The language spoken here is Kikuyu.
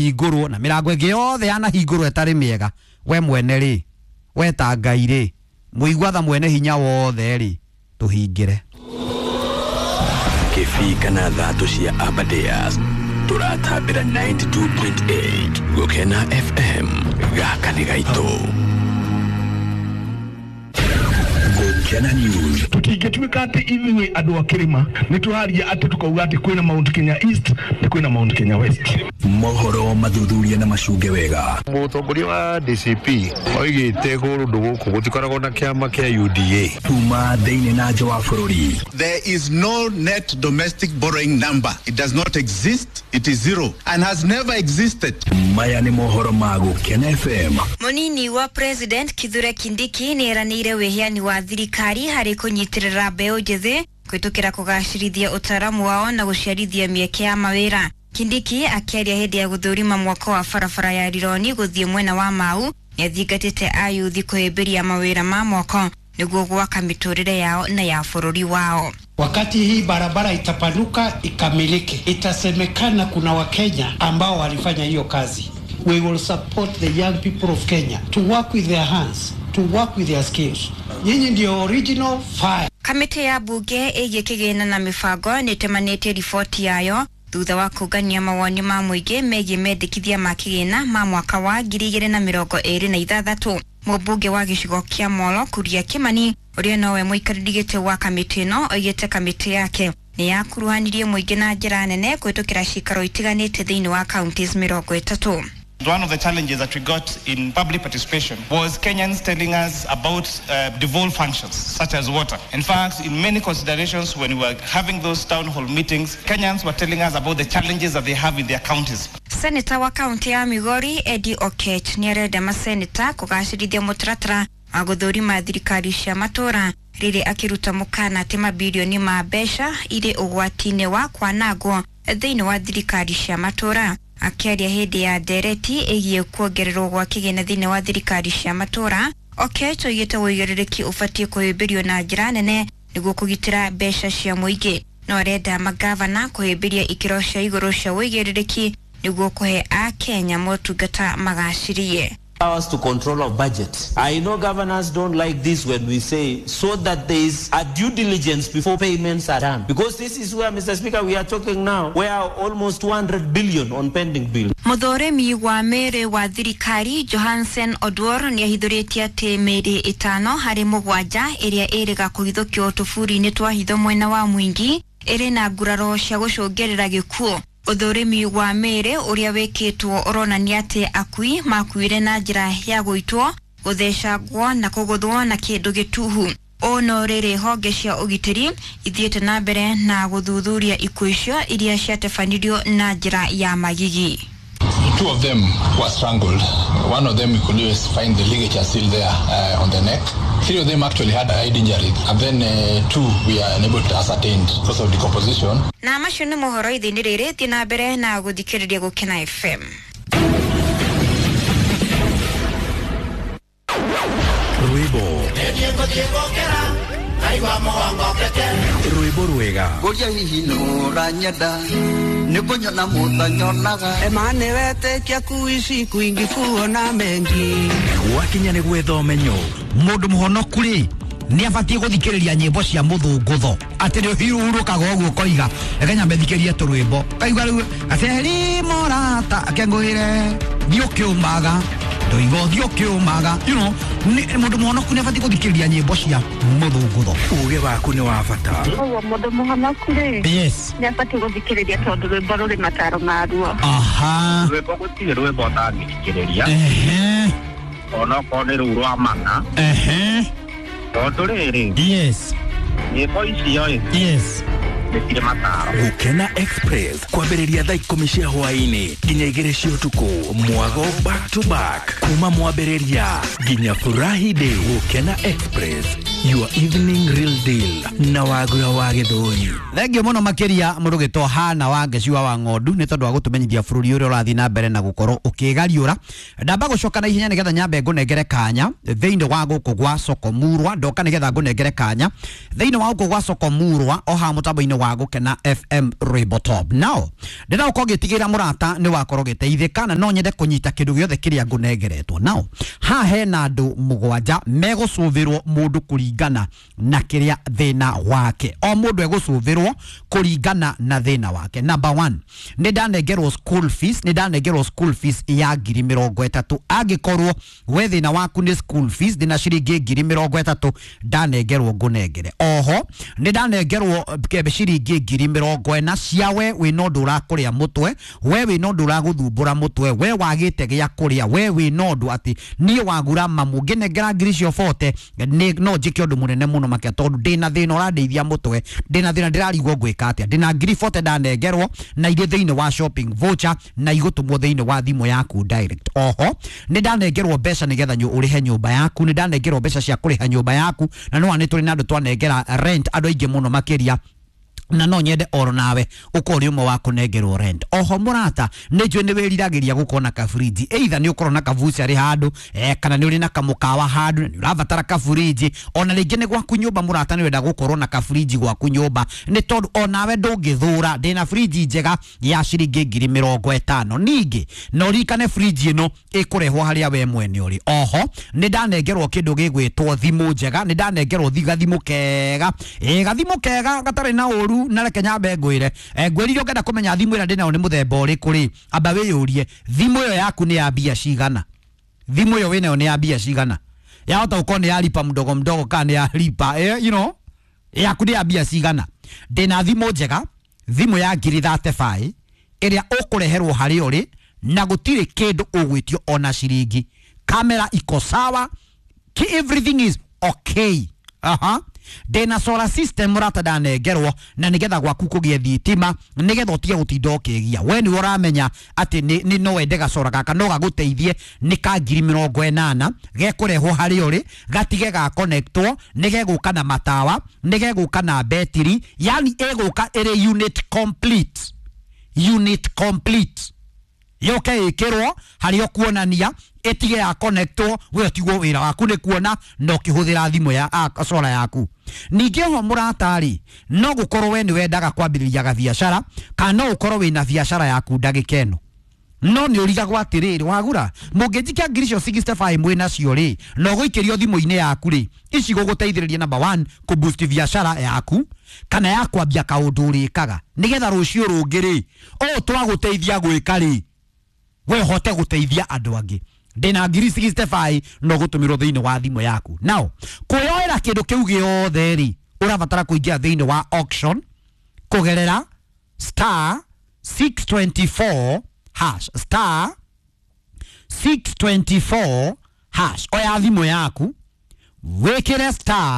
Hingũrwo na mĩrango ĩngĩ yothe yanahingũrwo ĩtarĩ mĩega. We mwene rĩ, we ta Ngai rĩ, mũigua tha mwene hinya wothe rĩ, tũhingĩre. Kĩbii kana thatũ cia Aberdares tũratambĩra 92.8 Gũkena FM gaka nĩ gaitũ. Gũkena News. Tutingĩtuĩka atĩ ithuĩ andũ a kĩrĩma nĩ tũraria atĩ tũkauga atĩ kwĩna Mount Kenya East na kwĩna Mount Kenya West. Mohoro mathuthuria na macunge wega. Mũtongoria wa DCP oigĩte kũndũ gũkũ gũtikoragwo na kĩama kĩa UDA. Kuma thĩinĩ na nja wa bũrũri. There is no net domestic borrowing number. It does not exist. It is zero and has never existed. Maya nĩ mohoro ma Gũkena FM. Munini wa President Kithure Kindiki nĩ eranĩire wĩheani wa thirikari harĩ kũnyitĩrĩra mbeũ njĩthĩ kũhĩtũkĩra kũgacĩrithia ũtaaramu wao na gũciarithia mĩeke ya mawĩra. Kindiki akĩaria hĩndĩ ya gũthũrima mwako wa barabara ya Rironi gũthiĩ mwena wa Mau nĩathingatĩte ayuthi kũhĩmbĩria mawĩra ma moko nĩguo gwaka mĩtũrĩre yao na ya bũrũri wao. Wakati hii barabara itapanuka ikamilike, itasemekana kuna Wakenya ambao walifanya hiyo kazi. We will support the young people of Kenya to work with their hands, to work with their skills. Nyinyi ndio original fire. Kamĩtĩ ya mbunge ĩgiĩ kĩgĩna na mĩbango nĩĩtemanĩtie riboti yayo thutha wa kũngania mawoni ma mũingĩ megiĩ mendekithia ma kĩgĩna ma mwaka wa 2026. Mũmbunge wa gĩcigo kĩa Molo Kuria Kimani ũrĩa nowe mũikarĩri gĩtĩ wa kamĩtĩ ĩno oigĩte kamĩtĩ yake nĩ yakuruhanirie mũingĩ na njĩra nene kũhĩtũkĩra cikaro itiganĩte thĩinĩ wa counties 30. One of the challenges that we got in public participation was Kenyans telling us about devolved functions such as water. In fact, in many considerations when we were having those town hall meetings, Kenyans were telling us about the challenges that they have in their counties. Seneta wa kaunti ya Migori Eddie Okech nĩarenda maseneta kũgacĩrithia mũtaratara wa gũthũrima thirikari cia matũra rĩrĩ akĩruta mũkana atĩ mabirioni ma mbeca irĩ ũgwati-inĩ wa kwanangwo thĩinĩ wa thirikari cia matũra. Akĩaria hĩndĩ ya ndereti ĩgiĩ kuongererwo gwa kĩgĩna thĩinĩ wa thirikari cia matũra, Okech oigĩte ũigĩrĩrĩki ũbatiĩ kũhĩmbĩrio na njĩra nene nĩguo kũgitĩra mbeca cia mũingĩ. No arenda magavana kũhĩmbĩria ikĩro cia igũrũ cia ũigĩrĩrĩki nĩguo kũhe akenya motungata magacĩrie. Powers to control our budget. I know governors don't like this when we say so that there is a due diligence before payments are done. Because this is where, Mr. Speaker, we are talking now, where almost 200 billion on pending bill. Mũthũrimi wa mĩĩrĩ wa thirikari Johansen Odwor nĩahithũrĩtie atĩ mĩĩrĩ 5 harĩ 7 ĩrĩa ĩrĩga kũhithũkio tũburi-inĩ twa hitho mwena wa Mwingi ĩrĩ na nguraro cia gũcũngĩrĩra gĩkuũ. Ũthũrimi wa mĩĩrĩ ũrĩa wĩkĩtwo ũronania atĩ akui makuire na njĩra ya gũitwo, gũthecangwo na kũgũthwo na kĩndũ gĩtuhu. Ũũ no rĩrĩ honge cia ũgitĩri ithiĩte na mbere na gũthuthuria ikuũ icio iria ciatabanirio na njĩra ya magigi. Two of them were strangled. One of them you could always find the ligature still there on the neck. Three of them actually had head injury, and then two we are unable to ascertain because of decomposition. Na macio nĩ mohoro ithĩinĩ rĩrĩ, thiĩ na mbere na gũthikĩrĩria Gũkena FM. Rwĩmbo rwĩmbo rwega Ngũria hihi nũranyenda nĩkũnyona mũtanyonaga Emane wetĩkia kuishi kwingi kuona mengi. Gwakinya nĩ gwetha ũmenyo. Mũndũ mũhonoku rĩ nĩ abatiĩ gũthikĩrĩria nyĩmbo cia mũthũngũtho atĩ nĩ ũhurũkaga ũguo ũkoiga reke nyambe thikĩrie tũrwĩmbo kaigua rĩu aceri mũrata akengũĩre thiĩ ũkĩũmaga ndoiga ũthiĩ ũkĩũmaga, you know, mũndũ mũhonoku nĩ abatiĩ gũthikĩrĩria nyĩmbo cia mũthũngũtho. Uge waku nĩ wa bata. Ũguo mũndũ mũhonoku rĩ, yes, nĩ abatiĩ gũthikĩrĩria tondũ rwĩmbo rũrĩ mataro maruo. Aha. Rwĩmbo gũtirĩ rwĩmbo ũtangĩthikĩrĩria. Ehe. Onokorwo nĩ rũu rwa mana. Ehe. Tondũ rĩrĩ, yes, nyĩmbo icio ĩ, yes, nĩ cirĩ mataro. Gũkena Express kwambĩrĩria thaa 10 cia hwaĩ-inĩ nginya 2 cia ũtukũ, mwago back to back kuma mwambĩrĩria nginya furahi day. Gũkena Express, your evening real deal na Wagura wa Gĩthũri. Thengio mũno makĩria mũrũgĩtwo Hana wa Ngeciwa wa Ng'ondu nĩ tondũ wa gũtũmenyithia bũrũri ũrĩa ũrathiĩ na mbere na gũkorwo ũkĩgariũra. Ndamba gũcoka na ihenya nĩgetha nyambe ngũnengere kanya thĩinĩ wa gũkũ gwa Soko Murwa. Ndoka nĩgetha ngũnengere kanya thĩinĩ wa gũkũ gwa Soko Murwa o haha mũtambo-inĩ wa wa Gũkena FM Rwĩmbo Top. Now ndĩra ũkorwo ngĩtigĩra mũrata nĩ wakorwo gĩteithĩka, na no nyende kũnyita kĩndũ gĩothe kĩrĩa ngũnengeretwo. Now haha hena andũ 7 megũcũthĩrwo mũndũ kũringana na kĩrĩa thĩna wake. O mũndũ egũcũthĩrwo kũringana na thĩna wake. Number 1, nĩ ndanengerwo school fees, nĩ ndanengerwo school fees ya 30,000. Angĩkorwo we thĩna waku nĩ school fees, ndĩna ciringi 30,000 ndanengerwo ngũnengere. Oho nĩ ndanengerwo ciringi 40,000 cia we wĩna ũndũ ũrakũrĩa mũtwe, we wĩna ũndũ ũragũthumbũra mũtwe, we wagĩte gĩa kũrĩa, we wĩna ũndũ atĩ niĩ wagura mamu ngĩnengera ngiri icio 40 nĩ no njĩke ũndũ mũnene mũno makĩria, tondũ ndĩna thĩna ũrandeithia mũtwe, ndĩna thĩna ndĩrarigwo ngwĩka atĩa. Ndĩna ngiri 40 ndanengerwo na irĩ thĩinĩ wa shopping voucher na igũtũmwo thĩinĩ wa thimũ yaku direct. Oho nĩ ndanengerwo mbeca nĩgetha ũrĩhe nyũmba yaku, nĩ ndanengerwo mbeca cia kũrĩha nyũmba yaku, na no nĩ tũrĩ na andũ twanengera rent andũ aingĩ mũno makĩria, na no nyende oro nawe ukorwo uri umwe wa kunengerwo rent. Oho murata nĩ njũĩ nĩ wĩriragĩria gũkorwo na kaburinji, either nĩ ũkorwo na kabucarĩ handũ, kana nĩ ũrĩ na kamũkawa handũ nĩ ũrabatara kaburinji, ona rĩngĩ nĩ gwaku nyũmba mũrata nĩ wenda gũkorwo na kaburinji gwaku nyũmba, nĩ tondũ onawe ndũngĩthũra. Ndĩna burinji njega ya ciringi 50,000. Ningĩ no ririkane burinji ĩno ĩkũrehwo harĩa we mwene ũrĩ. Oho nĩ ndanengerwo kĩndũ gĩgwĩtwo thimũ njega, nĩ ndanengerwo gathimũ kega, gathimũ kega gatarĩ na ũru. Na reke nyambe ngwire, ngwirire ũngĩenda kũmenya thimũ ĩrĩa ndĩnayo nĩ mũthemba ũrĩkũ rĩ, amba wĩyũrie thimũ ĩyo yaku nĩ ya mbia cigana, thimũ ĩyo wĩnayo nĩ ya mbia cigana, yahota gũkorwo nĩ ya lipa mdogo mdogo kana nĩ ya lipa, you know, yaku nĩ ya mbia cigana. Ndĩna thimũ njega, thimũ ya 35,000 ĩrĩa ũkũreherwo harĩa ũrĩ na gũtirĩ kĩndũ ũgwĩtio ona ciringi. Kamera iko sawa, everything is okay. Aha. Ndĩna solar system mũrata ndanengerwo na nĩgetha gwaku kũgĩe thitima, nĩgetha ũtige gũtinda ũkĩgia. We nĩwe ũramenya atĩ nĩ no wende gacora gaka no gagũteithie, nĩ ka 80,000, gekũrehwo harĩa ũrĩ, gatige ga connectwo, nĩ gegũka na matawa, nĩ gegũka na betiri, yani ĩgũka ĩrĩ unit complete, unit complete, yoke ĩkĩrwo harĩa ũkuonania, ĩtige ya connectwo, we ũtigwo wĩra waku nĩ kuona na ũkĩhũthĩra thimũ ya solar yaku. Ningĩ oho mũrata-rĩ, no gũkorwo we nĩ wendaga kwambĩrĩria gabiacara, kana no ũkorwo wĩna biacara yaku ndagĩka ĩno, no nĩ ũrigagwo atĩrĩrĩ, wagura mũngĩnjikia ngiri icio 65 mwĩnacio rĩ, na ũgũikĩrio thimũ-inĩ yaku rĩ, ici gũgũteithĩrĩria number 1 kũboost biacara yaku kana ya kwambia kaũndũ ũrĩkaga, nĩgetha rũciũ rũngĩ rĩ, ũũ twagũteithia gwĩka rĩ, we hote gũteithia andũ angĩ. Ndĩna ngiri 65 no gũtũmĩrwo thĩinĩ wa thimũ yaku. Now kwĩyoera kĩndũ kĩu gĩothe rĩ, ũrabatara kũingĩra thĩinĩ wa auction kũgerera star 624 hash, star 624 hash. Oya thimũ yaku wĩkĩre star